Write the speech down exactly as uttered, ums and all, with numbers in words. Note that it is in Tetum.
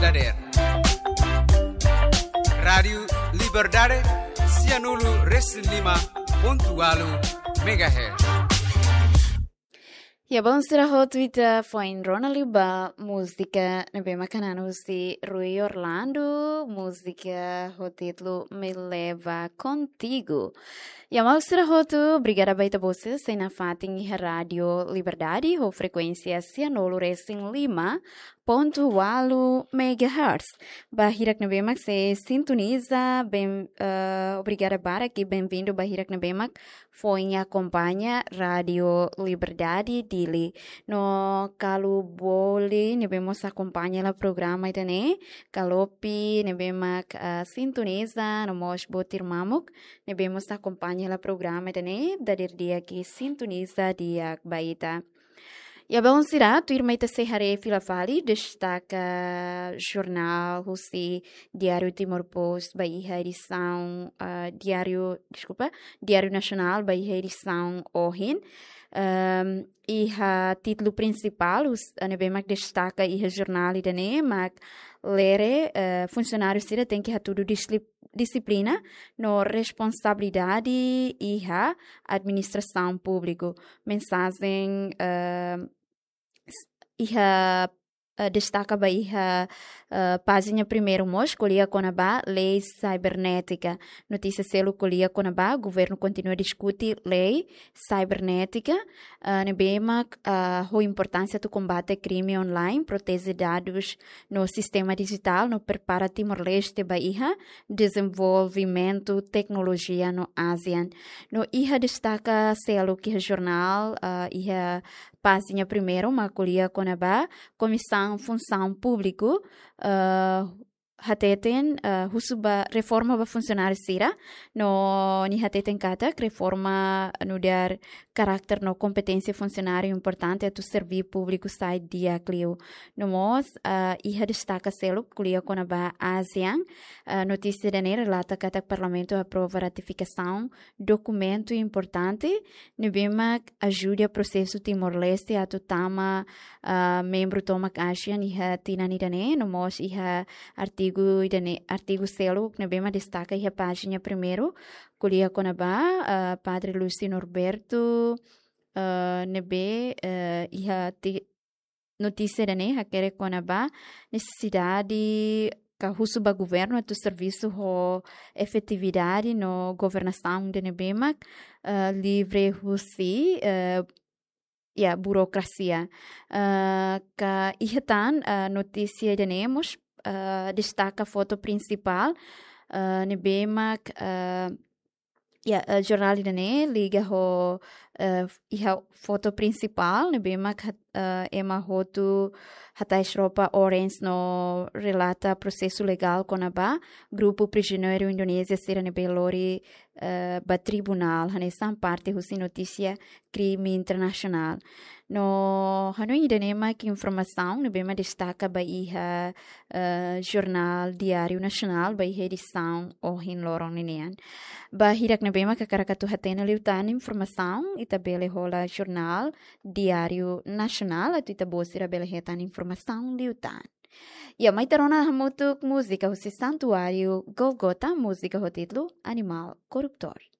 Dader. Rádiu Liberdade, sianulu resin lima pontu ualu megahertz. Ya, bom, sira hotu, ita foin rona liu ba múzika ne'ebé mak hanan husi Rui Orlando, múzika ho títulu Me Leva Contigo. Ya, maluk sira hotu, obrigada ba ita-boot sira sei nafatin iha Rádiu Liberdade, ho frekuénsia sianulu resin lima pontu ualu megahertz. Ba hirak ne'ebé mak sei sintoniza, bem, eh, obrigada barak i bem-vindo ba hirak ne'ebé mak foin akompaña Rádiu Liberdade Dili. No kalu bele, ne'ebé mós akompaña hela programa ida-ne'e, kalopi ne'ebé mak, ah, sintoniza, no mós botir mamuk ne'ebé mós akompaña hela programa ida-ne'e, dader di'ak i sintoniza di'ak ba ita. Ya, bom, sira, tuirmai ita sei haree fila fali destaka jornál husi Diáriu Timor Post ba iha edisaun, ah, Diáriu, deskulpa, Diáriu Nasionál ba iha edisaun ohin. Ehm, iha títulu prinsipál, hus-, ne'ebé mak destaka iha jornál ida-ne'e, mak lere, eh, funsionáriu sira tenke hatudu dislip-, dixiplina no responsabilidade iha administrasaun públiku. Mensajen, eh, s-, iha, eh, destaka ba iha, eh, pájina primeiru mós, ko'alia kona-ba lei sibernétika. Notísia seluk ko'alia kona-ba governu kontinua diskute lei sibernétika, eh, ne'ebé mak, eh, ho importánsia atu kombate krime online, proteje dadus no sistema dijitál, no prepara Timor-Leste ba iha dezenvolvimentu teknolojia no ASEAN. No iha destaka seluk iha jornál, eh, iha pájina primeiru mak ko'alia kona-ba Komisaun Funsaun Públiku, eh, hateten, eh, husu ba reforma ba funsionáriu sira, no nia hateten katak reforma nu'udar karakter no kompeténsia funsionáriu importante atu serví públiku sai di'ak liu. No mós, eh, iha destaka seluk ko'alia kona-ba ASEAN, eh, notísia ida-ne'e relata katak Parlamentu aprova ratifikasaun dokumentu importante ne'ebé mak ajuda prosesu Timor-Leste atu tama, ah, membru tomak ASEAN iha tinan ida-ne'e, no mós iha artigu ida-ne'e, artigu seluk ne'ebé mak destaka iha pájina primeiru, ko'alia kona-ba, ah, Padre Lúcio Norberto, ah, ne'ebé, eh, iha ti-, notísia ida-ne'e hakerek kona-ba nesesidade ka husu ba governu atu servisu ho efetividade no governasaun ida ne'ebé mak, eh, livre husi, eh, ya, burokrasia. Eh, ka iha tan, eh, notísia ida-ne'e mós, eh, destaka foto prinsipál, eh, ne'ebé mak, eh, ya, eh, jornál ida-ne'e liga ho, eh, iha foto prinsipál, ne'ebé mak hat-, eh, ema hotu hatais roupa orange no relata prosesu legál kona-ba grupu prizioneiru Indonézia sira ne'ebé lori, eh, ba tribunál, hanesan parte husi notísia krime internasionál. No hanoin ida-ne'e mak informasaun ne'ebé mak destaka ba iha, eh, jornál Diáriu Nasionál ba iha edisaun ohin loron ninian. Ba hirak ne'ebé mak hakarak atu hatene liután informasaun, ita bele hola jornál Diáriu Nasionál, atu ita-boot sira bele hetan informasaun liután. Ya, mai ita rona hamutuk múzika husi Santuáriu Gólgota, múzika ho títulu Animál Korruptór.